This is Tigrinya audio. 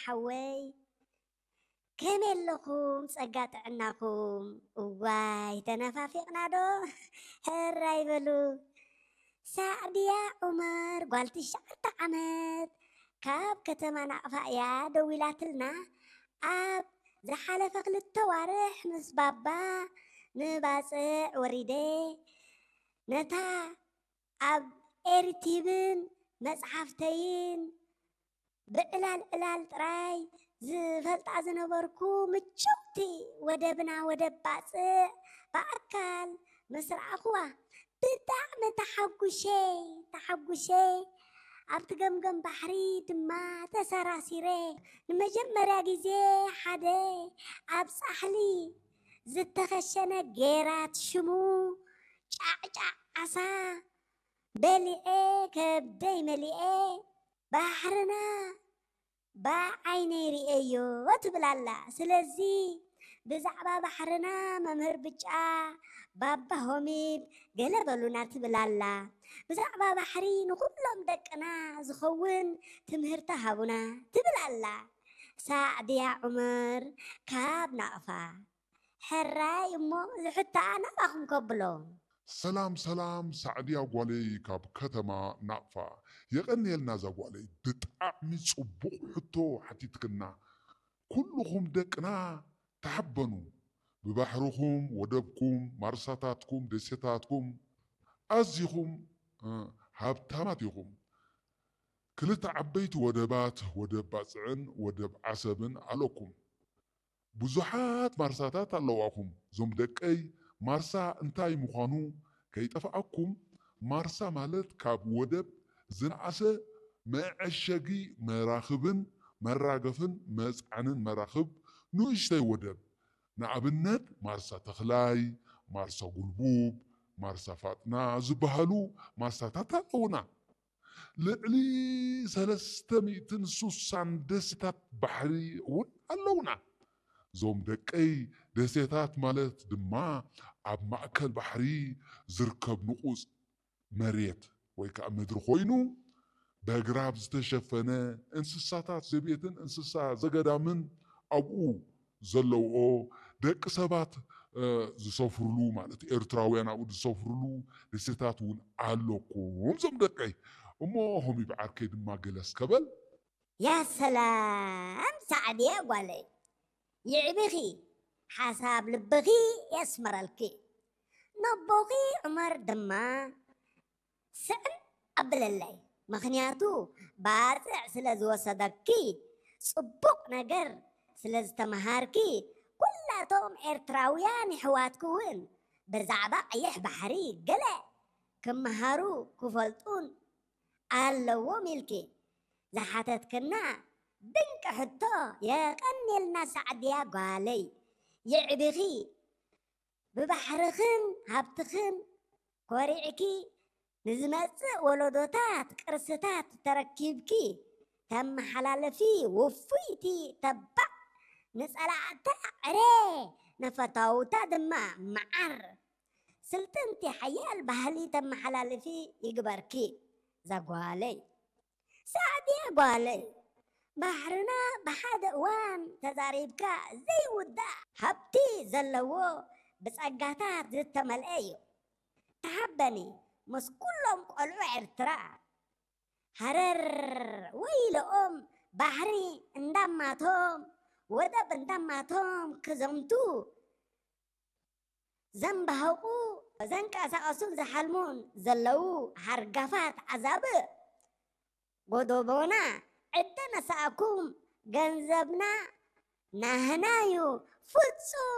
ሓወይ፣ ከመይ ኣለኹም? ጸጋ ጥዕናኹም? እዋይ፣ ተነፋፊቕና ዶ? ሕራይ በሉ። ሳዕድያ ዑመር፣ ጓል ትሽዓተ ዓመት፣ ካብ ከተማ ናቕፋ እያ ደዊላትልና። ኣብ ዝሓለፈ ክልተ ዋርሕ ምስ ባባ ንባጽዕ ወሪደ፣ ነታ ኣብ ኤርቲብን መጽሓፍተይን ብዕላል ዕላል ጥራይ ዝፈልጣ ዝነበርኩ ምችውቲ ወደብና ወደብ ባጽዕ ብኣካል ምስ ረኣኹዋ ብጣዕሚ ተሓጉሸ፣ ተሓጉሸ። ኣብቲ ገምገም ባሕሪ ድማ ተሰራሲረ። ንመጀመርያ ግዜ ሓደ ኣብ ጻሕሊ ዝተኸሸነ ጌራት ሽሙ ጫዕጫዕ ዓሳ በሊዐ ከብደይ መሊአ። ባሕርና ብዓይነይ ርእየዮ ትብል ኣላ። ስለዚ ብዛዕባ ባሕርና መምህር ብጫ፣ ባባ ሆሚድ ገለ በሉና ትብል ኣላ። ብዛዕባ ባሕሪ ንኹሎም ደቅና ዝኸውን ትምህርቲ ሃቡና ትብል ኣላ። ሳዕድያ ዑመር ካብ ናቕፋ። ሕራይ እሞ ዝሕታ ናባኹም ከብሎ። ሰላም ሰላም ሳዕድያ ጓለይ ካብ ከተማ ናቕፋ። የቐንየልና እዛ ጓለይ፣ ብጣዕሚ ጽቡቕ ሕቶ ሓቲትክና። ኩልኹም ደቅና ተሓበኑ። ብባሕርኹም፣ ወደብኩም፣ ማርሳታትኩም፣ ደሴታትኩም ኣዚኹም ሃብታማት ኢኹም። ክልተ ዓበይቲ ወደባት፣ ወደብ ባጽዕን ወደብ ዓሰብን ኣለኩም። ብዙሓት ማርሳታት ኣለዋኹም። እዞም ደቀይ፣ ማርሳ እንታይ ምዃኑ ከይጠፍኣኩም። ማርሳ ማለት ካብ ወደብ ዝነኣሰ መዐሸጊ መራኽብን መራገፍን መጽዓንን መራኽብ ንእሽተይ ወደብ። ንኣብነት ማርሳ ተኽላይ፣ ማርሳ ጉልቡብ፣ ማርሳ ፋጥና ዝበሃሉ ማርሳታት ኣለውና። ልዕሊ ሰለስተ ሚእትን ስሳን ደሴታት ባሕሪ እውን ኣለውና። እዞም ደቀይ፣ ደሴታት ማለት ድማ ኣብ ማእከል ባሕሪ ዝርከብ ንቑጽ መሬት ወይ ከዓ ምድሪ ኮይኑ፣ በግራብ ዝተሸፈነ፣ እንስሳታት ዘቤትን እንስሳ ዘገዳምን ኣብኡ ዘለውኦ፣ ደቂ ሰባት ዝሰፍርሉ ማለት ኤርትራውያን ኣብኡ ዝሰፍርሉ ደሴታት እውን ኣለኩም። እዞም ደቀይ እሞ ሆሚ ብዓርከይ ድማ ገለ እስከ በል። ያ ሰላም ሳዕድያ ጓለይ፣ ይዕቢኺ፣ ሓሳብ ልብኺ የስመረልኪ። ነቦኺ ዑመር ድማ ስዕም ኣብለለይ፣ ምኽንያቱ ባጽዕ ስለ ዝወሰደኪ፣ ጽቡቕ ነገር ስለ ዝተመሃርኪ፣ ኩላቶም ኤርትራውያን የሕዋትኪ እውን ብዛዕባ ቀይሕ ባሕሪ ገለ ክመሃሩ ክፈልጡን ኣለዎም ኢልኪ ዝሓተትክና ድንቂ ሕቶ። የቐንየልና ሳዕድያ ጓለይ፣ የዕቢኺ። ብባሕርኽን ሃብትኽን ኮሪዕኪ ንዝመጽእ ወለዶታት ቅርስታት ተረኪብኪ ተመሓላልፊ ውፉይቲ ተባዕ፣ ንጸላእታ ዕረ፣ ንፈታውታ ድማ መዓር፣ ስልጥንቲ ሓያል ባህሊ ተመሓላልፊ ይግበርኪ ዛጓለይ። ሳዕድያ ጓለይ፣ ባሕርና ብሓደ እዋን ተዛሪብካ ዘይውዳእ ሃብቲ ዘለዎ ብጸጋታት ዝተመልአ እዩ። ተሓበኒ ምስ ኩሎም ቆልዑ ኤርትራ። ሃረር ወይለኦም፣ ባሕሪ እንዳማቶም ወደብ እንዳማቶም ክዘምቱ ዘንባህቑ ዘንቀሳቐሱን ዝሓልሙን ዘለዉ ሃርጋፋት ኣዛብእ፣ ጎዶቦና ዕደ ነሳእኩም፣ ገንዘብና ናህናዩ ፍጹም